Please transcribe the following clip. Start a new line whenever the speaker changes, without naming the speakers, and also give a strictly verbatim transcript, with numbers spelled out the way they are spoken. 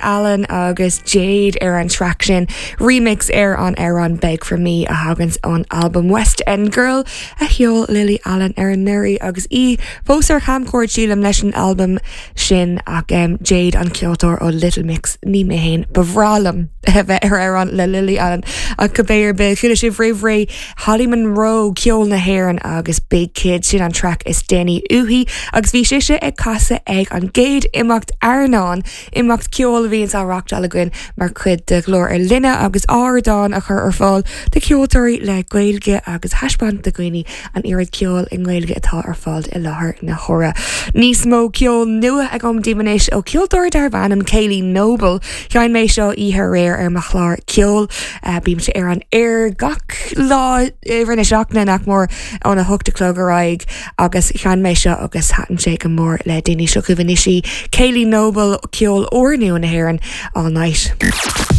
Allen agus Jade ar an track sin remix ar an amhrán Beg for Me a thagann ón album West End Girl a sheol Lily Allen ar anuraidh agus í fós ar camchuairt sílim leis an album sin ach um, Jade an ceoltóir ó Little Mix ní mé féin ba bhreá liom a bheith ar amhrán le Lily Allen ach cibé ar bith chuala sibh roimh ré Holly Monroe ceol na hÉireann agus Big Kid sin an track is déanaí uaithi agus bhí sise ag casadh ag an gcéad imeacht Airneán imeacht ceol a bhíonn á reáchtáil againn mar chuid de Ghlór ar Líne agus ardán a chur ar fáil do cheoltóirí le Gaeilge agus taispeáint do dhaoine an oiread ceol i nGaeilge atá ar fáil i láthair na huaire. Níos mó ceol nua agam daoibh anois ó ceoltóir darb ainm Kaylee Noble, Sheinn mé seo oíche aréir ar mo chlár ceol uh, bímse ar an aer gach lá rinne seachna nach mór óna hocht a chlog ar aghaidh agus sheinn mé seo agus thaitin sé go mór le daoine seo chugaibh anois í Kaylee Noble ceol úrnua na hÉireann all night.